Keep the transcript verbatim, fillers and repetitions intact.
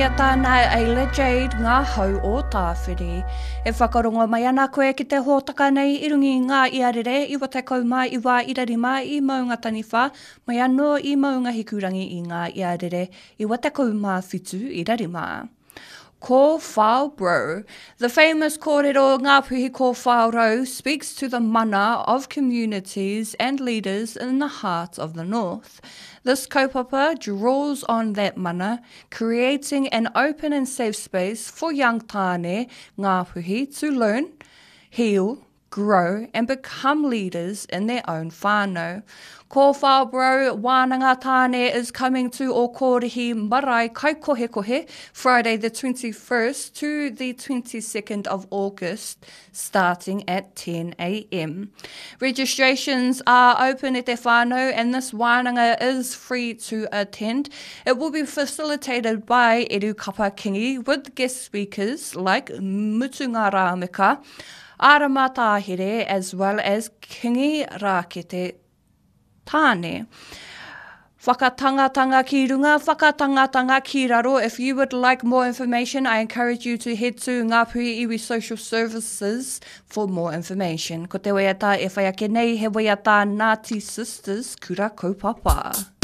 Waiata nā Ayla Jade Ngā Hau o Tāwhiri. E whakarongo mai ana koe ki te hōtaka nei i runga i ngā iarere iwa tekau mā iwa ira rima i Maungataniwha, mai anō i Maungahikurangi i ngā iarere iwa tekau mā whitu ira rima. Kōwhao Bro. The famous kōrero Ngāpuhi Kōwhao Rau speaks to the mana of communities and leaders in the heart of the north. This kaupapa draws on that mana, creating an open and safe space for young tāne Ngāpuhi to learn, heal, grow and become leaders in their own whānau. Kōwhao Bro Wānanga Tāne is coming to Okorihi Marae Kaikohekohe Friday the twenty-first to the twenty-second of August starting at ten A M. Registrations are open at te whānau and this wānanga is free to attend. It will be facilitated by Eru Kapa Kingi with guest speakers like Mutunga Rāmika, Arama Tāhere as well as Kingi Rākete Tāne. Whakatangatanga ki runga, whakatangatanga ki raro. If you would like more information, I encourage you to head to Ngāpuhi Iwi Social Services for more information. Ko te waiata e whai ake nei, he waiata Ngāti Sisters, Kura Kaupapa.